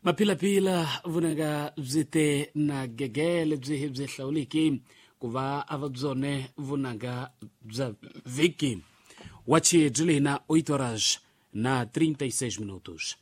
Maphilapila vunanga byi te na gege lebyi hi byi hlawuliki ku va a va byone vunanga bya vhiki. Wachi byi le na 8 horas na 36 minutos.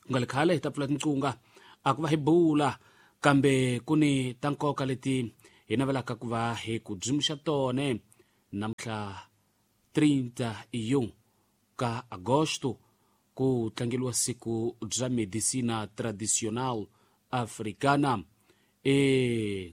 Ku nga le khale hi ta pfula tinqunga a ku va hi bula, kambe ku ni ta nkoka leti hi navelaka ku va hi ku dzimixa tone namuntlha 31 ka agosto ku tlangeliwa siku bya Medicina Tradicional Africana.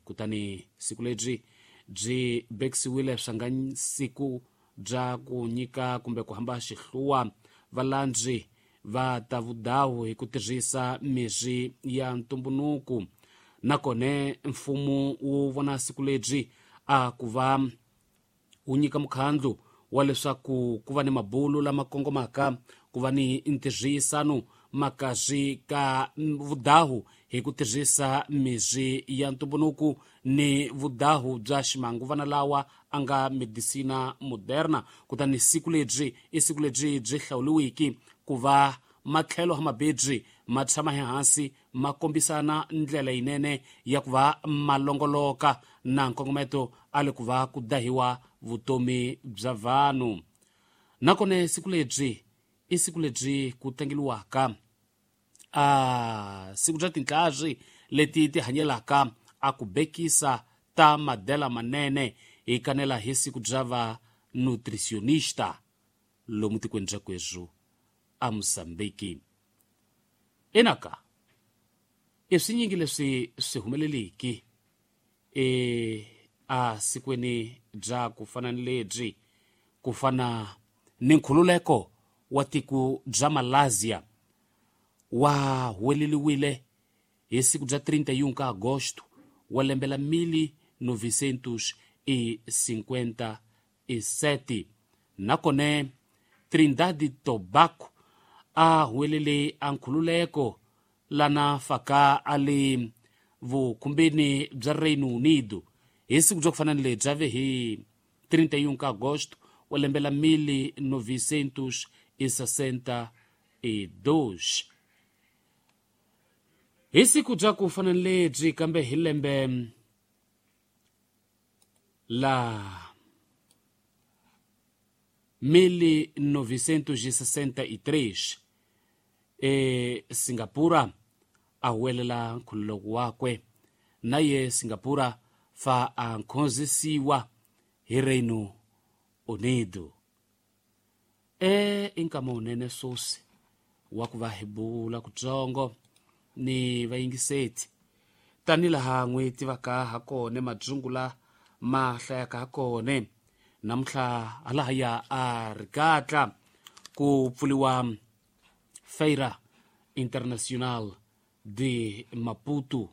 Kutani siku lebyi byi bekisiwile swa nga siku bya ku nyika kumbe ku hamba xihluwa valandzi va ta vudawu hi ku tirhisa mirhi ya ntumbunuku. Nakone mfumo wu vona siku lebyi a ku va wu nyika mukhandlu wa leswaku ku va ni mabulu lama kongomaka ku va ni ntirhisano makazi ka vudahu hi ku tirhisa mirhi ya ntumbunuku ni vudahu bya ximanguvana lawa a nga medicina moderna. Kutani siku lebyi i siku lebyi byi hlawuliwiki ku va matlhelo ha mabebyi ma tshama ehansi ma kombisana ndlela yinene ya ku va malongoloka na nkongometo a le ku va ku dahiwa vutomi bya vanhu. Nakone siku lebyi i siku lebyi ku tlangeliwaka a siku bya tintlhari leti ti hanyelaka a ku bekisa ta madela manene hi kanela hi siku bya va nutritionista lomu tikweni bya kwezu a Mozambique. Enaka i swinyingi leswi swi humeleliki a sikweni bya ku fana ni lebyi, ku fana ni nkhululeko wa tiko bya Malaysia wa huweleliwile hi siku bya 31 ka agosto wa lembe la 1957. Nakone Trinidad Tobago a huwelele a nkhululeko lana faka a le vukhumbini bya Reino Unido hi siku bya ku fana ni lebyi ave hi 31 ka agosto wa lembe la 1962. Hi siku bya ku fana ni lebyi kambe hi lembe la 1963 Singapura a huwelela nkhululeko wakwe, na ye Singapura fa a nkhonzisiwa hi Reino Unido. I nkama wunene swoswi wa ku va hi bula kutsongo ni vayingiseti tani laha n'wi tivaka ha kone madzungula ma hlayaka ha kone. Namuntlha halahaya a rikatla ku pfuliwa Feira Internacional de Maputo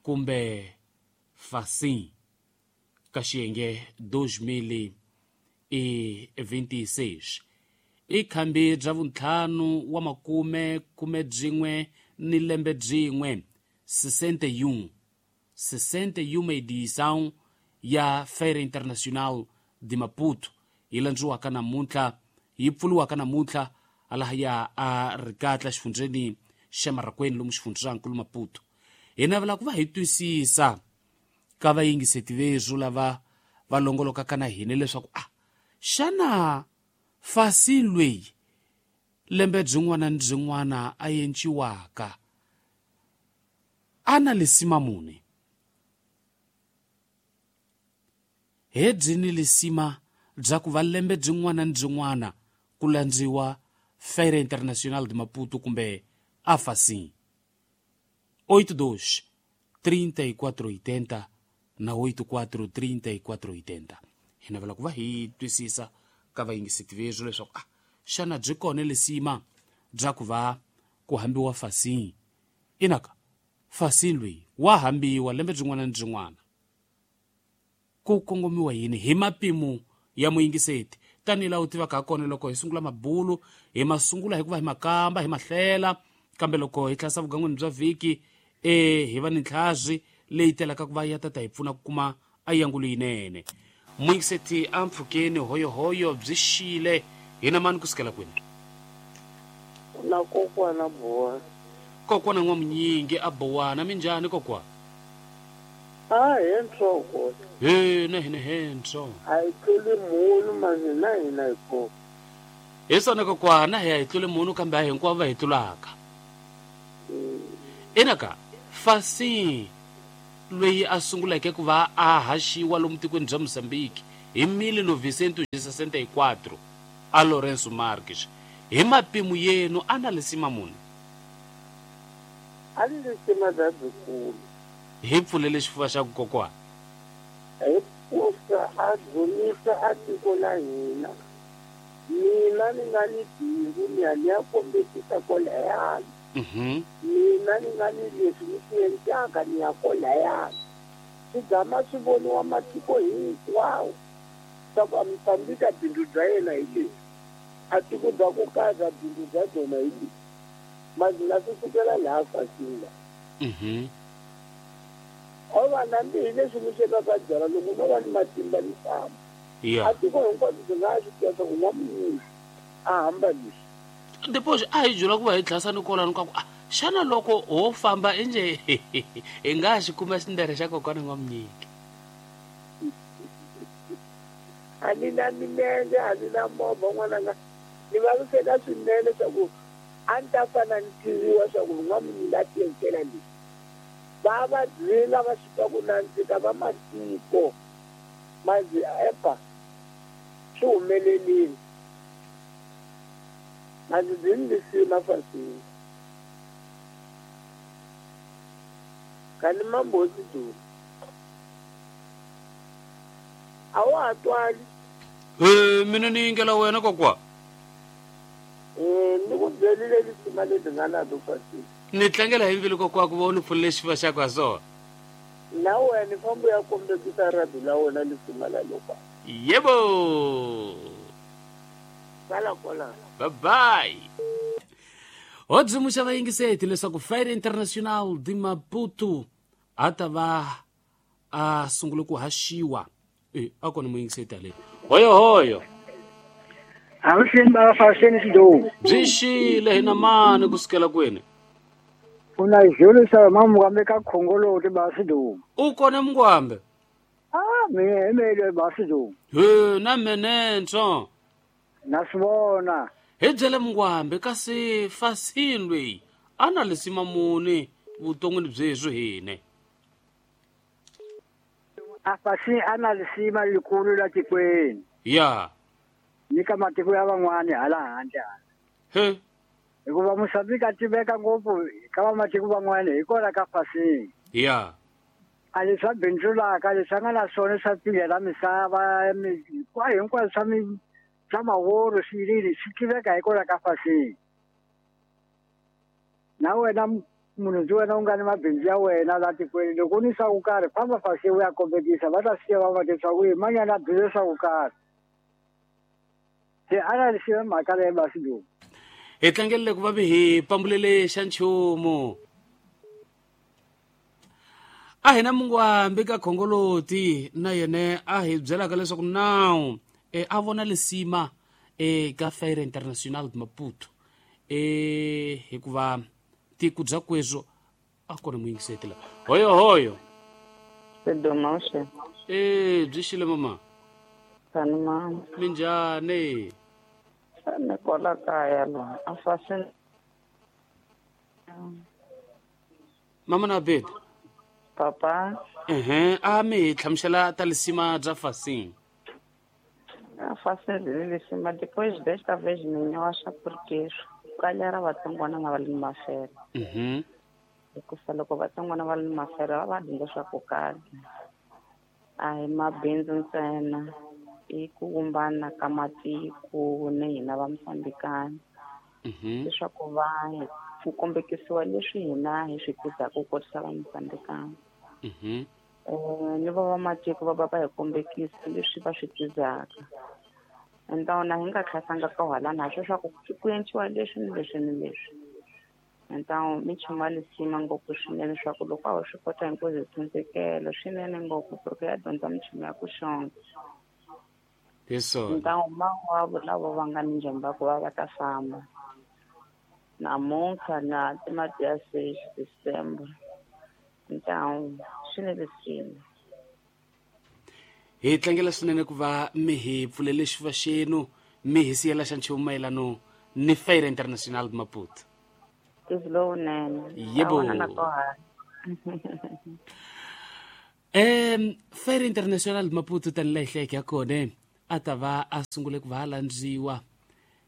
kumbe Facim ka xiyenge 2026. I khambi bya vuntlhanu wa makume khume byin'we ni lembe byin'we 61 61 edição ya Feira Internacional de Maputo yi landziwaka namuntlha, yi pfuliwaka namuntlha halahaya a rikatla xifundzeni xa Marraqueni lomu xifundzankulu Maputo. Hi navela ku va hi twisisa ka vayingiseti vezu lava va longolokaka na hina leswaku a xana fasi lweyi lembe byin'wana ni byin'wana a enciwaka a na lisima muni? He byi ni lisima bya ku va lembe byin'wana ni byin'wana ku landziwa Feira Internacional de Maputo kumbe AFACIM? 82 3480 na 84 3480. Hi navela ku va hi twisisa ka vayingiseti vezu leswaku a xana byi kona lisima bya ku va ku hambiwa Facim? Inaka Facim loyi wa hambiwa lembe byin'wana ni byin'wana, ku kongomiwa yini hi mapimo ya muyingiseti? Tanihi laha u tivaka ha kona, loko hi sungula mabulu hi ma sungula hi ku va hi makamba hi mahlela, kambe loko hi tlhasa vugangweni bya vhiki hi va ni ntlhazi leyi telaka ku va ya tata hi pfuna ku kuma ayangulo yinene. Muyingiseti a mpfhukeni hoyohoyo byi xile hina mani kusukela kwini? Na kokwana Buwa. Kokwana N'wamunyingi a bowana minjhani kokwa? A hentsho He na hina hentsho. A hi tluli munhu manje na hina hi kona. Hi swona kokwana hi ya hi tlule munhu kambe a hinkwavo va hi tlulaka. Ina ka Fasi loyi a sunguleke ku va a haxiwa lomu tikweni bya Mozambique hi 1964 a Lourenço Marques hi mapimo yenu a na lisima muni? A ni lisima bya byikulu. Hi pfulele xifuva xa ku kokwana. Hi kusa a dzunisa a tiko la hina. Mina ni nga ni bindzu ni ya ni ya kombekisa kwalayani. Mina ni nga ni leswi ni swi endlaka ni ya kwalayani. Swi gama swi voniwa matiko hinkwawo swa ku a Mozambique bindzu bya yena hi leswi. A tiko bya ku karhi bindzu bya byona hi leswi. Manje na swi sukela laha Fasinga. O va na mbihi leswi ni swekaka byala loko no va ni matimba ni famba. A tiko hinkwabyo byi nga swi tiva swa ku N'wamunyingi a hamba leswi. Depois a hi byela ku va hi tlhasa ni kolano ka ku a xana loko ho famba enje hi nga xi kuma xindere xa kokwana N'wamunyingi. A ni na milenge, a ni na movha n'wananga. Ni vaviseka swinene swa ku a ni ta fana ni tiviwa swa ku N'wamunyingi a tiendlela leswi. Va va dzinga va swi twa ku nandzika va matiko. Manje epa swi humelelile. Manje byi ni lisima Fasini. Kani mambosi duma. A wa ha twali. Mina ni yingela wena kokwa. Ni ku byerile lisima leti nga na to Fasini. Ni tlangela hi mbilu kokwa ku va u ni pfulele xifuva xa ku ha swona. Na wena fambo ya kombekisa rhabi la wena lisima la lokwa. Yebo. Sala kwala. Bye bye. Ho dzumuxa vayingiseti leswaku Feira Internacional de Maputo a ta va a sungule ku haxiwa. A kona muyingiseti ale. Hoyo hoyo. Avuxeni bava Faseni Xidou. Byi xile hina mani kusukela kwini? Una jolo sa mamukambe ka khongoloti ba Xidou. U kona Mungwambe? Ah, mina hi mele ba Xidou. He na menentsho. Na swi vona. Hi byele Mungwambe kasi Fasini loyi a na lisima muni vuton'wini byeswi hine. A Fasini a na lisima likulu la tikweni. Ya. Ni ka matiko ya van'wani hala handle. He. Hikuva Mozambique a tiveka ngopfu ka vamatiko van'wani hi kona ka Fasini. Ya. A leswi a bindzulaka leswi a nga na swona swa pfilhela misava hinkwaswo swa swa maworo swilili swi tiveka hi kona ka Fasini. Na wena munhu ndzi wena u nga ni mabindzu ya wena la tikweni loko u ni swa ku karhi famba Fasini u ya kombekisa va ta swi tiva va leswaku i manyana a bindzu swa ku karhi. Se a na lisiwa mhaka leyi ba Xidou. Hi tlangelele ku va mi hi pambulele xa nchumu. A hina Mungwambi ka Khongoloti na yena a hi byelaka leswaku nawu a vona lisima ka Feira Internacional de Maputo hikuva tiko bya kweswo a kona muyingiseti la. Hoyo hoyo. Xidou xe. Byi xile mama. Tani mama. Minjhani? Ni kwala kaya la. A Fasini. Mama na bed. Papa. A mi hi hlamusela ta lisima bya Fasini. A Fasini byi ni lisima depois desta vez mina wa swa porque kalera vatsongwana na va le mafela. Hikuva loko vatsongwana va le mafela va va dyondza swa ku karhi. A hi mabindzu ntsena i ku vumbana ka matiko ni hina va Mozambikana. Leswaku va ku kombekisiwa leswi hina hi swi tizaka ku kotisa va Mozambikana. Ni va vamatiko va va va hi kombekisa leswi va swi tizaka. Então na hi nga khasanga ka halana ha swa ku ku endliwa leswi ni leswi ni leswi. Então minchumu ya lisima ngopfu swinene swa ku loko a ho swi kota hinkwaswo hi tshunxekela swinene ngopfu porque ya dyondza minchumu ya ku xonga. Hi swona. Então mawavo lavo va nga ni njomba ku va va ta famba. Namuntlha na ti dia 6 de setembro. Então, swi ni lisima. Hi tlangela swinene ku va mi hi pfulele xifuva xenu mi hi siyela xa nchumu mayelano ni Feira Internacional de Maputo. Lowunene. Yebo. Feira Internacional de Maputo tanihi hleke ya kona a ta va a sungule ku va a landziwa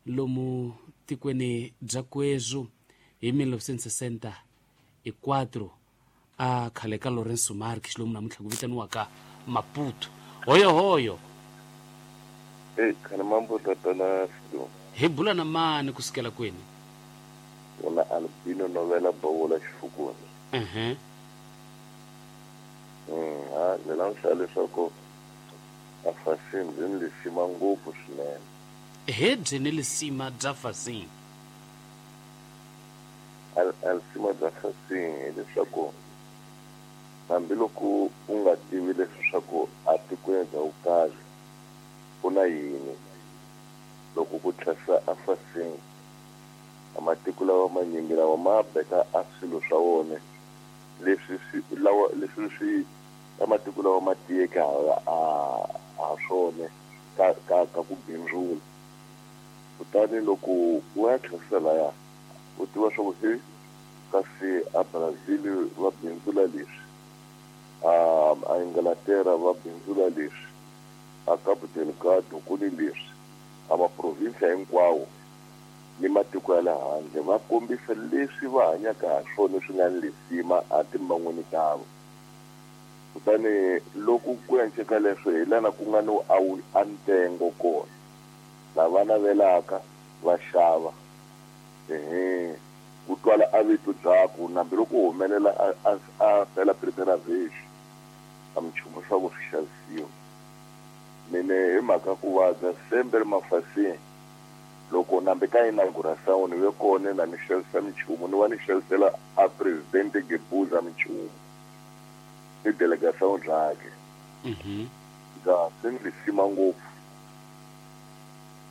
lomu tikweni bya Kwezu hi 1964 a khale ka Lourenço Marques lomu namuntlha ku vitaniwaka Maputo. Hoyo hoyo. Khale mambo tatana Sido. Hi bula na mani kusukela kwini? Wona Albino Novela Bowola Xifukuni. Ha ni langusa leswaku a Fasim byi ni lisima ngopfu swinene. He byi ni lisima bya Fasim. A lisima bya Fasim hileswaku hambiloko u nga tivi leswaku a tikweni bya vukarhi ku na yini loko ku tlhasa a Fasim a matiko lawa manyingi lawa ma beka a swilo swa wona leswi swi lawa leswi swi a matiko lawa ma tiyeke ha swona ka ku bindzula. Kutani loko u ya tlhasa laya u tiva swa ku he kasi a Brazil va bindzula leswi, a Inglaterra va bindzula leswi, a Cabo Delgado ku ni leswi, a maprovinsia hinkwawo ni matiko ya le handle va kombisa leswi va hanyaka ha swona swi nga ni lisima a timban'wini tavo. Kutani loko ku enceka leswo hi lana ku nga ni a ntengo kona lava navelaka va xava ku twala a vito byaku nambi loko u humelela a fela primera vez a minchumu swa ku swi xavisiwa. Mine hi mhaka ku vabya sempre mafasini loko nambi ka inauguração ni ve kona na ni xavisa minchumu ni va ni xavisela a presidente Gebuza minchumu ni delegação byakhe. Bya swi ni lisima ngopfu.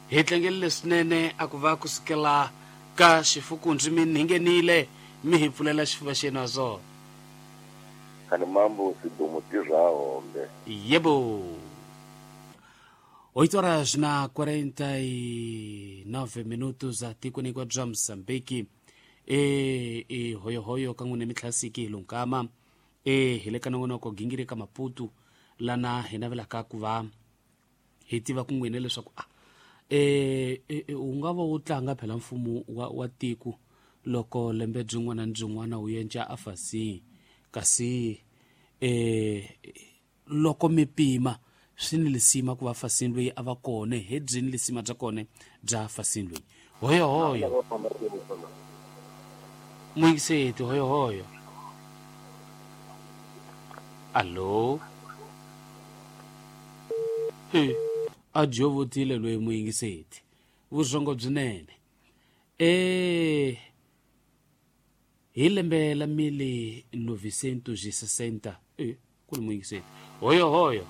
Hi tlangelile swinene a ku va kusukela ka Xifukundzi mi nhingenile mi hi pfulela xifuva xenu ha swona. Khale mambo sidomo tirha hombe. Yebo. 8 horas na 49 minutos a tikweni kwa bya Mozambique. E hoyohoyo ka n'wina mitlhasiki hi lunkama hi le ka nongonoko gingiri ka Maputo lana hi navelaka ku va hi tiva ku n'wina leswaku u nga va wu tlanga phela mfumo wa tiko loko lembe byin'wana ni byin'wana wu yenca a Fasim kasi loko mi pima swi ni lisima ku va Fasim loyi a va kona he byi ni lisima bya kona bya Fasim loyi. Hoyo hoyo. Muyingiseti hoyo hoyo. Allo. He a jovotile loyi muyingiseti. Vusongo byinene. Hi lembe la 1960 ku ni muyingiseti. Hoyo hoyo.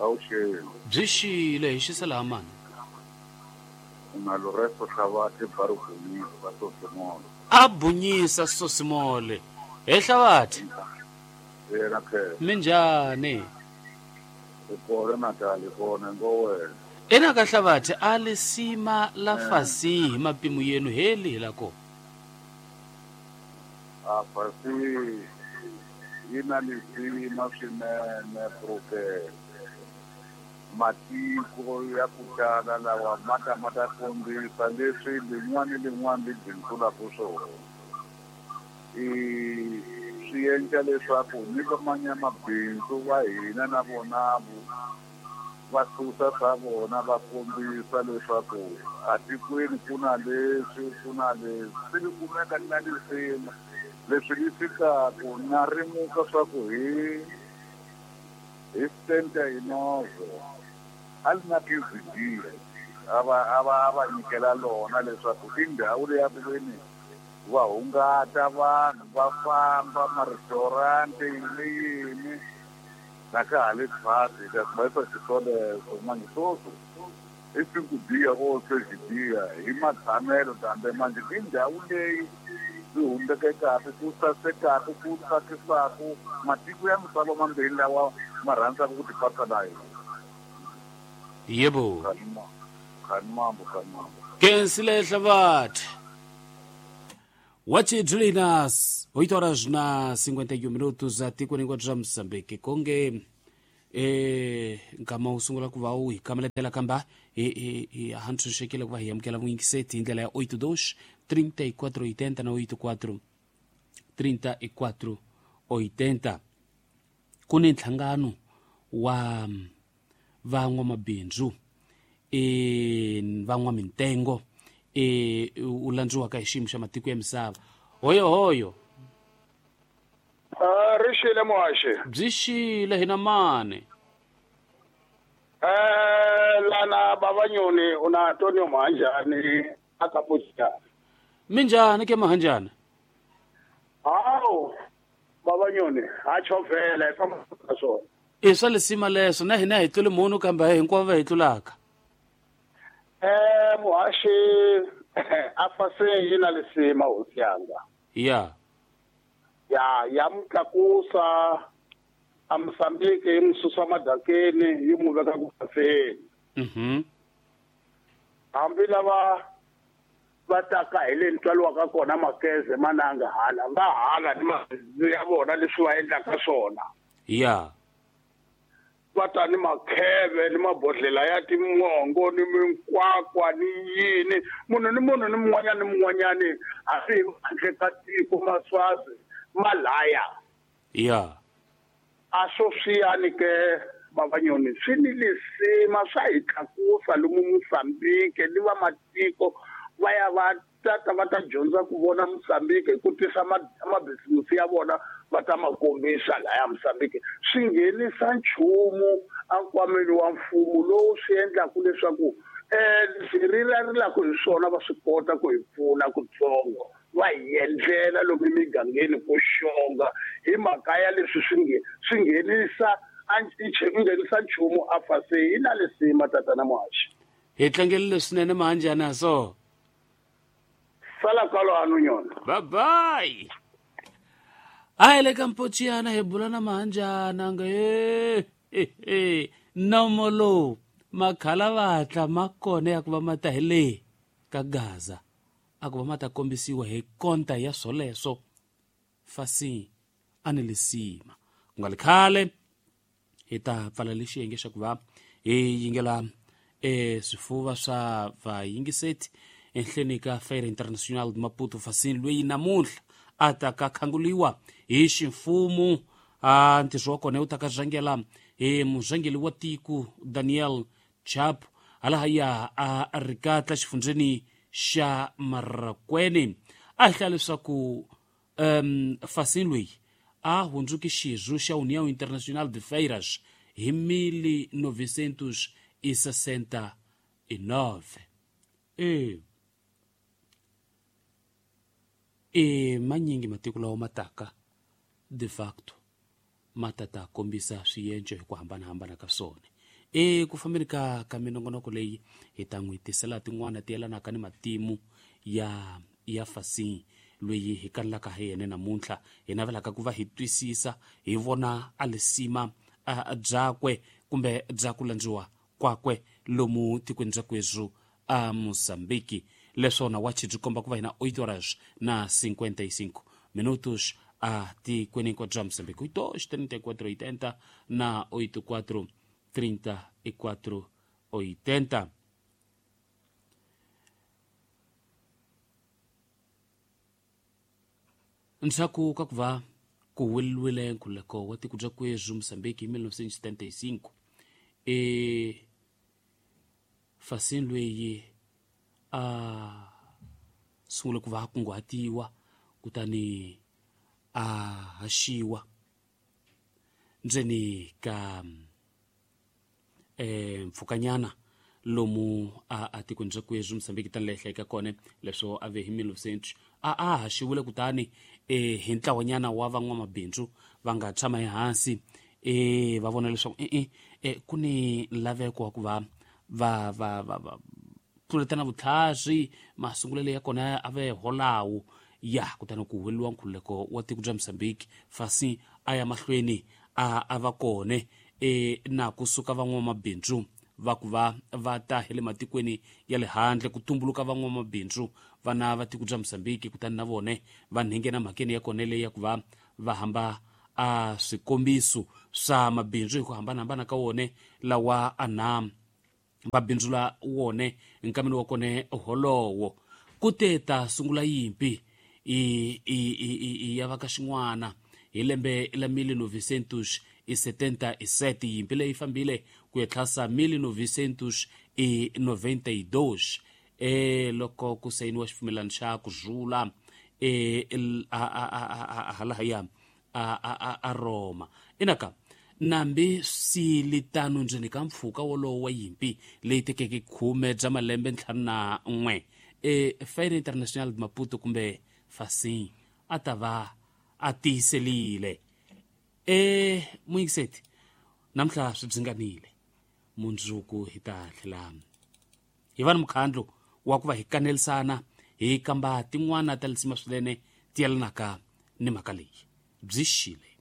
Awuxele. Byi xile hi xisela mani. Na Lorenzo Hlavathe Barubunisa Sosimole. A bunyisa Sosimole. He Hlavathe. Yena phela. Minjhani? Ikona Natal ikona ngowena. Ena ka Hlavathe a lisima la Fasim hi mapimo yenu heli hi la ko. A Fasim yi na lisima swinene porque matiko ya ku tala lawa ma ta ma ta kombisa leswi lin'wana ni lin'wana li bindzulaka swona. I swi endla leswaku ni vamanyamabindzu va hina na vona va susa swa vona va kombisa leswaku atikweni ku na leswi ku na leswi swi li kumeka na lisima leswi li fikaku na rimuka swa ku hi 79 a li na 15 dias a va nyikela lona leswaku i ndhawu leyi ya ku veni va hungata vanhu va famba ma-restaurant yini yini na ka ha le phasi ka va yisa xiswoleswo manje sweswi I 5 dias ou 6 dias hi matshamelo kambe manje i ndhawu leyi yi humbekekaka ku sasekaka ku tsakisaka matiko ya misava mambirhi lawa ma rhandzaka ku tipatsa na yona. Yebo. Khanimambo khanimambo. Kensile Hlavathe. Wachi Julinas, 8 horas na 51 minutos a tikweni bya Mozambique. Konge nkama wu sungula ku va wu hi kameletela kamba hi ha ntshunxekile ku va hi amukela vuyingiseti hi ndlela ya 82 34 80 na 84 34 80. Ku ni nhlangano wa van'wamabindzu van'wamintengo u landziwaka hi xiyimo xa matiko ya misava. Hoyo hoyo. Ri xile muhaxi. Byi xile hina mani. Lana Babanyoni una Antonio Mahanjani akapucha. Minjhani ke Mahanjani? Hawu Babanyoni ha chovela famba ka swona. I swa lisima leswo na hina hi tlule munhu kambe hinkwavo va hi tlulaka. Muhaxi a fase yi na lisima hosi yanga. Ya. Ya mutlakusa a Mozambique yi mususa madakeni yi mu veka ku faseni. Hambi lava va taka hi le ntswalo kona makeze mananga hala va hala ni mabindzu ya vona leswi va endlaka swona. Ya. Va ta ni makheve ni mabodhlela ya timongo ni minkwakwa ni yini munhu ni munhu ni mun'wanyana ni mun'wanyani hambi handle ka tiko maswazi malaya. Ya. A swo swiyani ke Babanyoni swi ni lisima swa hi tlakusa lomu Mozambique ni va matiko va ya va tata va ta dyondza ku vona Mozambique hi ku tisa mabhizimusi ya vona va ta ma kombisa laya Mozambique. Swi nghenisa nchumu enkwameni wa mfumo lowu swi endlaka leswaku leswi rilarilaka hi swona va swi kota ku hi pfuna kutsongo va hi endlela lomu emigangeni ku xonga hi mhaka ya leswi swi nghenisa nghenisa nchumu a fase yi na lisima tatana Muhaxi. Hi tlangelile swinene Mahanjani so. Sala kwalano nyona. Bye bye. A hi le ka Mpochiyana hi bula na Mahanjana nga nomo lowu makhalavatla ma kona ya ku va ma ta hi le ka Gaza a ku va ma ta kombisiwa hi konta ya swoleswo fasi a ni lisima. Ku nga li khale hi ta pfala lexi xiyenge xa ku va hi yingela swifuva swa vayingiseti enhleni ka Feira Internacional de Maputo fasini loyi namuntlha a ta ka khanguliwa hi ximfumo. A ntirho wa kona wu ta ka rhangela hi murhangeri wa tiko Daniel Chapo halahaya a ri katla xifundzheni xa Marrakwene. A hi hlaya leswaku fasini loyi a hundzuke xirho xa União Internacional de Feiras hi 1969. Manyingi matiko lawa ma taka de facto ma ta ta kombisa swienco hi ku hambanahambana ka swona. Ku fambeni ka minongonoko leyi hi ta n'wi tisela tin'wana ti yelanaka ni matimu ya fasini loyi hi kalelaka hi yena namuntlha hi navelaka ku va hi twisisa hi vona a lisima byakwe kumbe bya ku landziwa kwakwe lomu tikweni bya kwezulu a Mozambique. Leswona wachi byi komba ku va hina 8 horas na 55 minutos a tikweni hinkwabyo bya Mozambique. 8 34 80 na 84 34 80. Ndzhaku ka ku va ku weliwile nkhululeko wa tiko bya kwezulu Mozambique hi 1975 fasini loyi a sungule ku va a kunguhatiwa kutani a haxiwa ndzeni ka mpfhukanyana lomu a tikweni bya kwezulu Mozambique tani leyi hlayeka kona leswo a ve hi 1900 a haxiwile kutani hi ntlawanyana wa van'wamabindzu va nga tshama ehansi va vona leswaku ku ni laveko wa ku va va va va va tluletana vutlhari masungulelo ya kona a ve holawo ya kutani ku huweleliwa nkhululeko wa tiko bya Mozambique fasi a ya mahlweni a va kone na kusuka van'wamabindzu va ku va va ta hi le matikweni ya le handle ku tumbuluka van'wamabindzu vana va tiko bya Mozambique kutani na vone va nghena mhakeni ya kona leyi ya ku va va hamba a swikombiso swa mabindzu hi ku hambanahambana ka wone lawa ana va bindzula wone nkameni wa kone holowo ku te ta sungula yimpi i ya va ka xin'wana hi lembe la 1977 yimpi leyi fambile ku ya tlhasa 1992 loko ku sayiniwa xipfumelano xa ku rhula halahaya a Roma inaka nambi silitano ndzeni ka mpfhuka wolowo wa yimpi leyi tekeke 10 bya malembe 51 Feira Internacional de Maputo kumbe Facim a ta va a tiyiselile muyingiseti namuntlha swi byinganile mundzuku hi ta tlhela hi va ni mukhandlu wa ku va hi kanelisana hi kamba tin'wana ta lisima swinene ti yelanaka ni mhaka leyi byi xile.